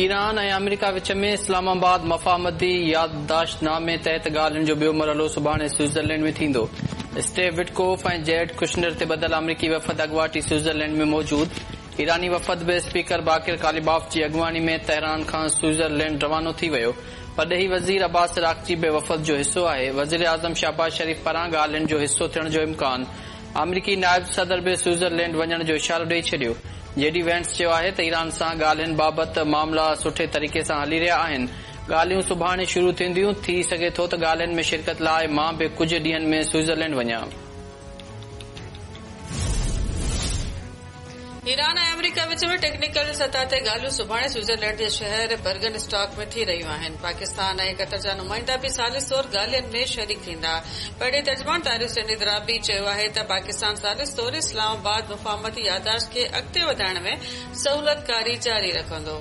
Iran ۽ آمريڪا وچ ۾ اسلام آباد مفاهمتي يادداشت نامي تحت ڳالهين جو ٻيو مرحلو سڀاڻي سوئٽزرلينڊ ۾ ٿيندو. اسٽيو وٽڪوف ۽ جيرڊ ڪشنر تي ٻڌل آمريڪي وفد اڳواٽ ئي سوئٽزرلينڊ ۾ موجود. ايراني وفد به اسپيڪر باقر قاليباف جي اڳواڻي ۾ تهران کان سوئٽزرلينڊ روانو ٿي ويو. پرڏيهي وزير عباس عراقچي به وفد جو حصو آهي. وزيراعظم شهباز شريف پاران ڳالهين جو حصو ٿيڻ جو امڪان. آمريڪي نائب صدر به سوئٽزرلينڊ وڃڻ جو اشارو ڏئي ڇڏيو. جي ڊي وينس چيو آهي ته ايران سان ڳالهين بابت معاملا سٺي طريقي سان هلي رهيا آهن. ڳالهيون سڀاڻي شروع ٿينديون، ٿي سگهي ٿو ته ڳالهين ۾ شرڪت لاء مان به ڪجهه ڏينهن ۾ سوئٽزرلينڊ وڃان. ايران ۽ آمريڪا وچ ۾ ٽيڪنيڪل سطح تي ڳالهيون سڀاڻي سوئٽزرلينڊ جي شهر برگن اسٽاڪ ۾ ٿي رهيون آهن. پاڪستان ۽ قطر جا نمائندا به ثالث طور ڳالهين ۾ شريڪ ٿيندا. پرڏيهي ترجمان طاهر حسين اندرابي چيو آهي ته پاڪستان ثالث طور اسلام آباد مفاهمتي يادداشت کي اڳتي وڌائڻ ۾ سهولتڪاري جاري رکندو.